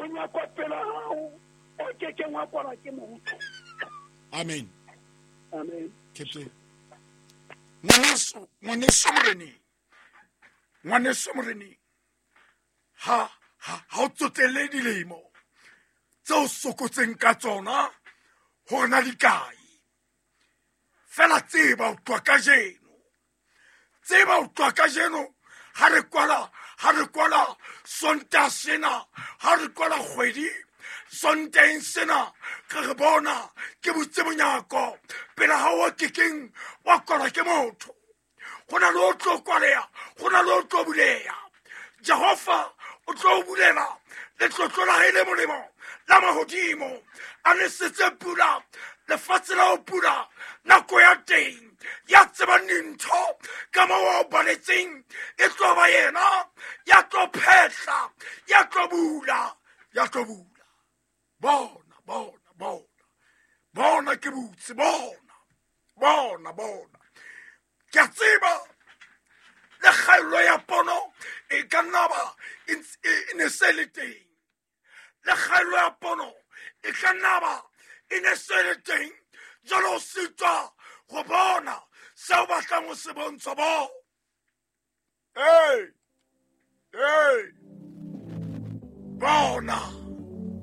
Monyako pela hao o ke keng wa kwalwa ke motho. Amen. Amen. Captain. Ngwaneso, ngwaneso moreneng. Ngwaneso moreneng. Ha ha ha o tsotelle dilemo tse o sokotseng ka tsona hore na di kae. Fela tseba o tloha kajeno. Tseba o tloha kajeno ha re kwala, ha re kwala Sontaha sena, ha re kwala kgwedi Sontaheng sena, re re bona ke butse monyako pele ha o kekeng wa kwalwa ke motho. Go na le o tlo kwaleha, go na le o tlo buleha. Jehova o tlo o bulela letlotlo la hae le molemo la mahodimo, a nesetse pula lefatshe la ho pula nako ya teng. Ya tsebang dintho ka moo a o baletseng e tlo ba yena ya tlo phehla, ya tlo bula, ya tlo bula. Bona, bona, bona, bona ke butse, bona, bona, bona. Ke a tseba le kgaello ya pono e ka nna ba e ne se le teng. Le kgaello ya pono e ka nna ba e ne se le teng. Jwale o sitwa go bona seo batlang ho se bontsha bo. Hey, hey, bona.